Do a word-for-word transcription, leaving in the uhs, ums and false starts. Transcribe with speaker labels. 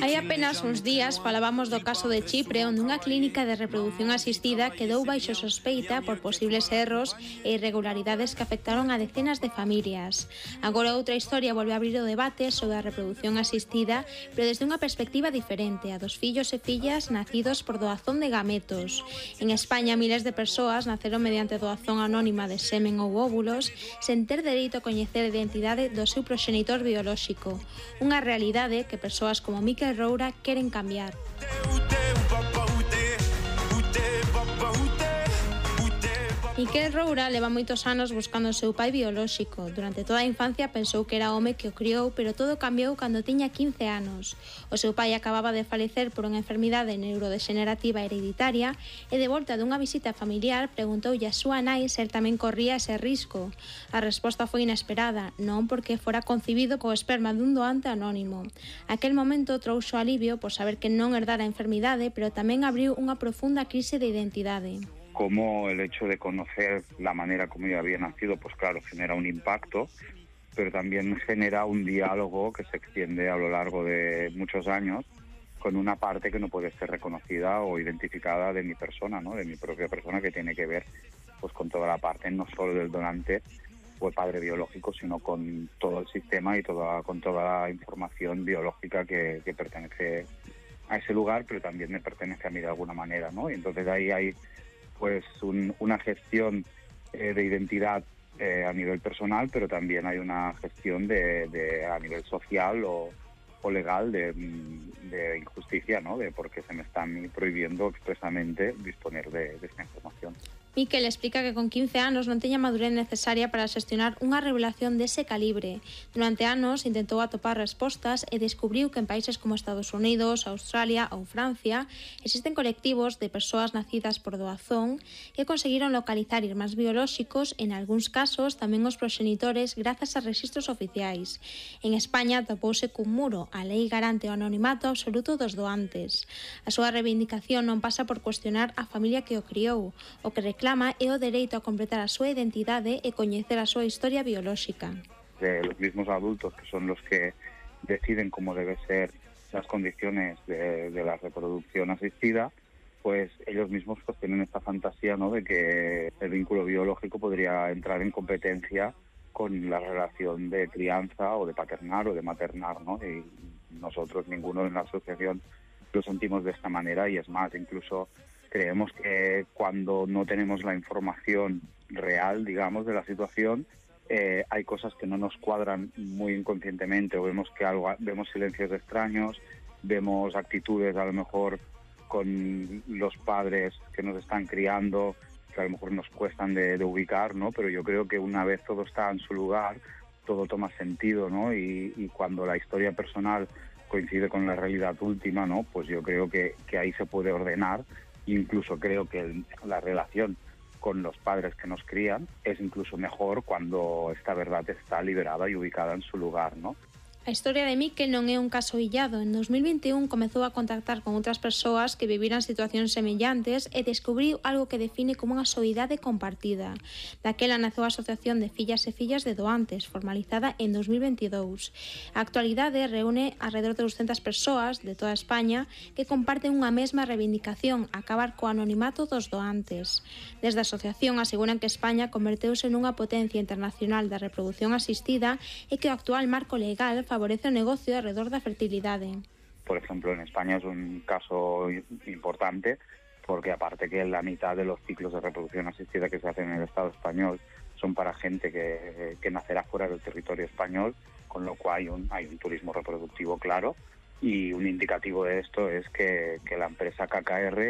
Speaker 1: Hai apenas uns días falábamos do caso de Chipre, onde unha clínica de reproducción asistida quedou baixo sospeita por posibles erros e irregularidades que afectaron a decenas de familias. Agora outra historia volve a abrir o debate sobre a reproducción asistida, pero desde unha perspectiva diferente, a dos fillos e fillas nacidos por doazón de gametos. En España, miles de persoas naceron mediante doazón anónima de semen ou óvulos, sen ter dereito a coñecer a identidade do seu proxenitor biolóxico. Unha realidade que persoas como Miquel Roura queren cambiar. Miquel Roura leva moitos anos buscando o seu pai biolóxico. Durante toda a infancia pensou que era o home que o criou, pero todo cambiou cando tiña quince anos. O seu pai acababa de falecer por unha enfermidade neurodexenerativa hereditaria e de volta dunha visita familiar preguntoulle a súa nai se el tamén corría ese risco. A resposta foi inesperada, non porque fora concibido co esperma dun doante anónimo. Aquel momento trouxo alivio por saber que non herdara a enfermidade, pero tamén abriu unha profunda crise de identidade.
Speaker 2: Como el hecho de conocer la manera como yo había nacido, pues claro, genera un impacto, pero también genera un diálogo que se extiende a lo largo de muchos años con una parte que no puede ser reconocida o identificada de mi persona, ¿no? De mi propia persona, que tiene que ver pues con toda la parte, no solo del donante o el padre biológico, sino con todo el sistema y toda, con toda la información biológica que, que pertenece a ese lugar, pero también me pertenece a mí de alguna manera, ¿no? Y entonces ahí hay pues un, una gestión eh, de identidad eh, a nivel personal, pero también hay una gestión de, de a nivel social o, o legal de, de injusticia, ¿no? De por qué se me están prohibiendo expresamente disponer de, de esta información.
Speaker 1: Miquel explica que con quince anos non teña madurez necesaria para xestionar unha revelación dese calibre. Durante anos intentou atopar respostas e descubriu que en países como Estados Unidos, Australia ou Francia existen colectivos de persoas nacidas por doazón que conseguiron localizar irmáns biolóxicos, en algúns casos tamén os proxenitores, grazas a rexistros oficiais. En España topouse cun muro, a lei garante o anonimato absoluto dos doantes. A súa reivindicación non pasa por cuestionar a familia que o criou, o que reclama é o dereito a completar a súa identidade e coñecer a súa historia biolóxica.
Speaker 2: De los mismos adultos, que son los que deciden cómo deben ser las condiciones de, de la reproducción asistida, pues ellos mismos pues tienen esta fantasía, ¿no? De que el vínculo biológico podría entrar en competencia con la relación de crianza o de paternar o de maternar, ¿no? Y nosotros, ninguno en la asociación, lo sentimos de esta manera, y es más, incluso creemos que cuando no tenemos la información real, digamos, de la situación, eh, hay cosas que no nos cuadran muy inconscientemente, o vemos que algo, vemos silencios extraños, vemos actitudes a lo mejor con los padres que nos están criando, que a lo mejor nos cuestan de, de ubicar, ¿no? Pero yo creo que una vez todo está en su lugar, todo toma sentido, ¿no? Y, y cuando la historia personal coincide con la realidad última, ¿no? Pues yo creo que, que ahí se puede ordenar. Incluso creo que el, la relación con los padres que nos crían es incluso mejor cuando esta verdad está liberada y ubicada en su lugar, ¿no?
Speaker 1: A historia de Miquel non é un caso illado. En dos mil vinte e un comezou a contactar con outras persoas que viviran situacións semellantes e descubriu algo que define como unha soidade compartida. Daquela naceu a Asociación de Fillas e Fillas de Doantes, formalizada en dos mil veintidous. A actualidade reúne alrededor de duzentas persoas de toda España que comparten unha mesma reivindicación, acabar co anonimato dos doantes. Desde a asociación aseguran que España converteuse nunha potencia internacional da reproducción asistida e que o actual marco legal favorece o negocio alrededor da fertilidade.
Speaker 2: Por ejemplo, en España es un caso importante porque aparte que la mitad de los ciclos de reproducción asistida que se hacen en el Estado español son para gente que, que nacerá fuera del territorio español, con lo cual hay un, hay un turismo reproductivo claro, y un indicativo de esto es que, que la empresa K K R